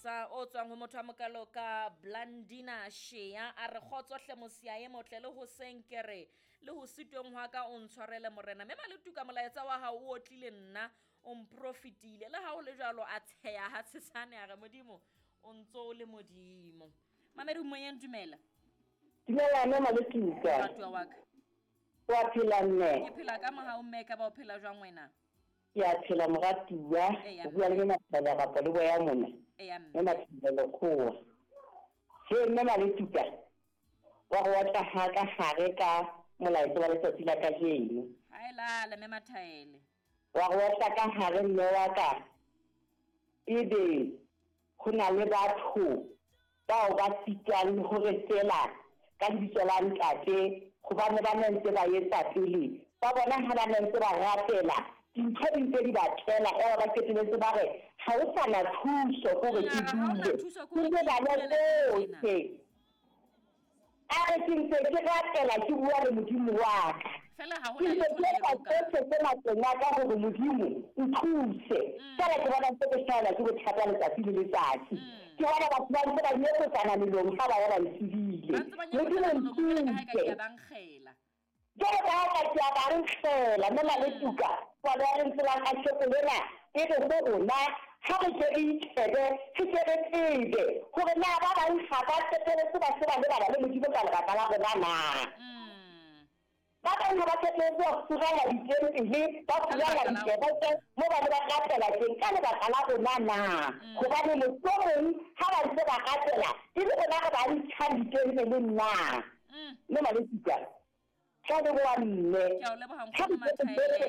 Molaetsa o tswang ho motho a mokalo ka Blandina Shea a re kgotso hle mosia e motle le hoseng ke re le ho sitweng hwa ka o ntshwarele morena. Mme Maletuka molaetsa wa hao o otlile nna o mprofitile le ha o le jwalo a tsheya ha tshesane a re modimo o ntso o le modimo. Mamedi moyeng dumela. Dumela mme Maletuka. Moratuwa wa ka. Wa phela mme? Ke phela ka mohau mme ka ba o phela jwang wena? Ke a phela moratuwa. Eya, O bua le mme. mme Mathibela Rapo le boya mona. Eya, Mme mme. Mathibela Lekgowa. He mme Maletuka wa go otla ha ka gare ka molaetsa wa letsatsi la kajeno. Ha e lale mme Mathaele. Wa go otla ka gare mme wa ka ebe ho na le batho bao ba sitwang le hore feela ka lebitso la ntate hobane ba ne ntse ba etsa pele ba bona ha ba ne ntse ba rapela dintho di ntse di ba tlela eba ba qetelletse ba re ha o sa na thuso kore ke Mara ha hona dule thuso ke kore ntse ke ba ipulele tjena. tsohle a re ke ntse ke rapela ke bua le modimo wa ka Fela ha ke hona ntse letho ke le etsa lokang. tsohle tse matleng a ka hore modimo nthuse fela ke bona ntse ke hlahelwa ke bothata letsatsi le letsatsi ke bona batho ba ntse ba nyekosana melomo ha ba ya ba ntshebile Ba ntse ba modimo nyekosana molomo jwalo ka ha eka ke nthuse a ba nkgela. jwalo ka ha ka ke a ba nkgela mme Maletuka palo ya lentswe la kasheko lena e re ho rona ha re ke re itjhebe re ke re tsebe hore na ba bang ga ba qetelletse ba se ba lebala le modimo ka lebaka la rona na. Ba bang ha ba qetelletse ba furalla ditempele ba Ka furalla lebaka la dikereke rona. mo ba ne ba rapela teng ka lebaka la rona na. Hobane mohlomong ha ba ntse ba rapela e le rona re ba ntshang ditempeleng na. Mme Maletuka tla leboha mme Ke a o leboha ha nkgono re Mathaele.